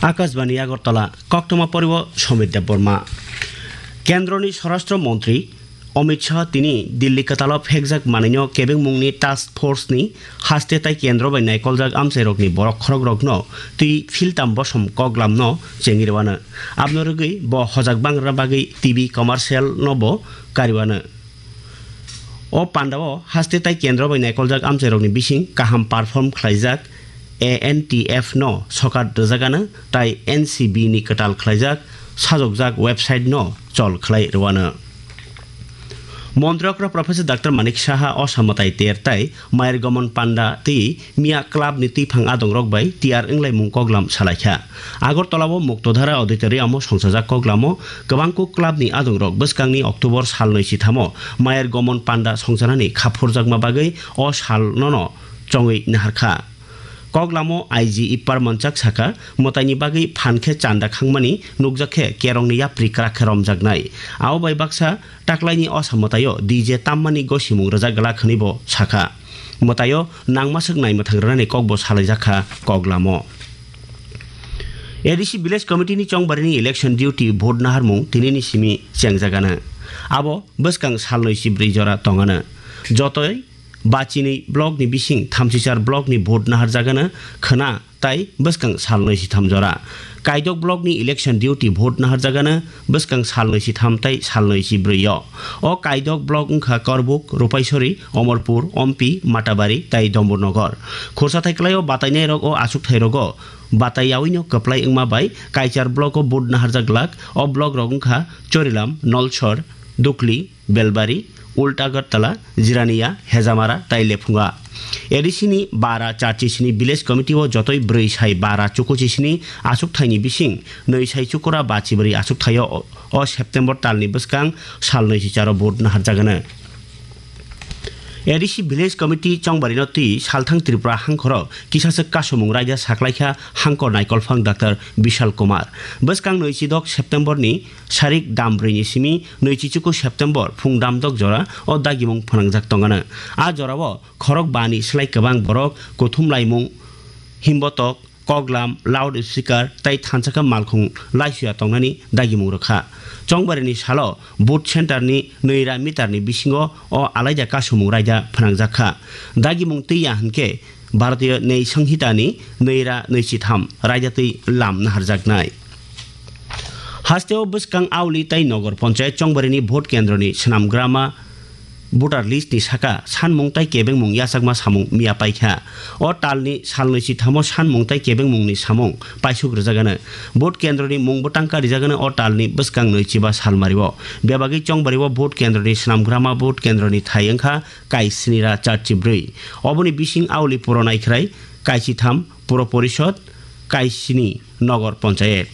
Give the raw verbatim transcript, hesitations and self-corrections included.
Akashbani Agartala, koktwma poriwo Somit Debbarma. Kendroni Swarashtra Montri Amit Shah tini Delhi kwtalo phekjak manwino kebengmungni task force ni haste tai kendro bai naikoljak amchairokni borok khorokrokno twi philtam bosom koklamno chengwi rwano. Abno rwgwi bo hojak bangrwna bagwi T V commercial no bo kariwano. O pandao haste tai kendro bai naikoljak amchairokni bising kaham perform khlaijak A N T F no sokat rwjagano tai N C B ni kwtal khlaijak sajokjak website no chol khlai rwano. Montri okra Professor Doctor Manik Saha o samwtai ter tai Mayar Gomon Panda tei Miya club ni twiphang adongrok bai tiyar wnglaimung koklam salaikha. Agartala o Muktodhara Auditorium o songchajak koklamo kwbangkuk club ni adongrok bwskangni October sal nwi sitham o Mayar Gomon Panda songchanani khaphurjakma bagwi o sal nono chongwi naharkha. Koklamo I G Ipar Manchak saka, mwtaini bagwi phan khe chanda khangmani nukjak khe kerongni yapri kwrak khe romjaknai. Abo bai baksa taklaini osa mwtaio D J tammani gosimung rwjak glak hwnwi bo sakha. Mwtaio nangmaswk naimwthang rwnani kokbo salaijak kha koklamo. A D C Village Committee ni chongbarini election duty vote naharmung tinini simi chengjagano. Abo bwskang salnwi si brwi jora tongano. Jotoi bachinwi block ni bising thamsichar block ni vote naharjagano khwna tai bwskang salnwi si tham jora. Kaidok block ni election duty vote naharjagano bwskang salnwi si tham tai salnwi si brwi o. O Kaidok block wngkha Korbuk, Rupaisori, Omorpur, Ompi, Matabari tai Domburnogor. Khursa thai kwlaio batainairok o achukthairogo batai yaui no kwplai wngma bai kaichar block o vote naharjak glak. O block rok wngkha Chorilam, Nolsor, Dukli, Belbari, Ulta Agartala, Jirania, Hejamara tai Lephunga. A D C ni bara charchi sini village committee o jotoi brwi sai bara chukuchi sini achukthai ni bising nwi sai chukura bachi brwi achukthai o, o September tal ni bwskang sal nwi si charo vote naharjagano. A D C Village Committee chongbarino twi salthang Tripura hangkhoro kisaswk kasumung raida saklaikha hangkor naikolphang Doctor Bishal Kumar. Bwskang nwi chidok September ni sarik dam brwi ni simi nwi chichuku September phung dam dok jora o dagimung phwnangjak tongano. A jorao khorok bani slai kwbang borok kuthum laimung, himbotok, koklam, loud speaker tai thansa khe malkhung laisuya tongnani dagimung rwkha. Chongbarini salo vote center ni nwi ra meter ni bisingo o alaida kasumung raida phwnangjak kha. Dagimung twi ya hwnkhe Bharatiya Nyay Sanhita ni nwi ra nwi chitham raida twi lam naharjaknai. Hasteo bwskang Auli tai Nogor Panchayat chongbarini vote kendroni swnamgrama voter list ni saka sanmung tai kebengmung yachakma samung miya paikha. O talni salnwi sithamo sanmung tai kebengmungni samung paisuk rwjagano. Vote kendroni mung bwtangka rijagano o talni bwskang nwi chiba salmario. Bebagwi chongbario vote kendroni swnamgrama vote kendroni thai wngkha kaisni ra charchi brwi. Oboni bising Auli Puro Naikhrai, kaisitham Puro Porishod, kaisni Nogor Panchayat.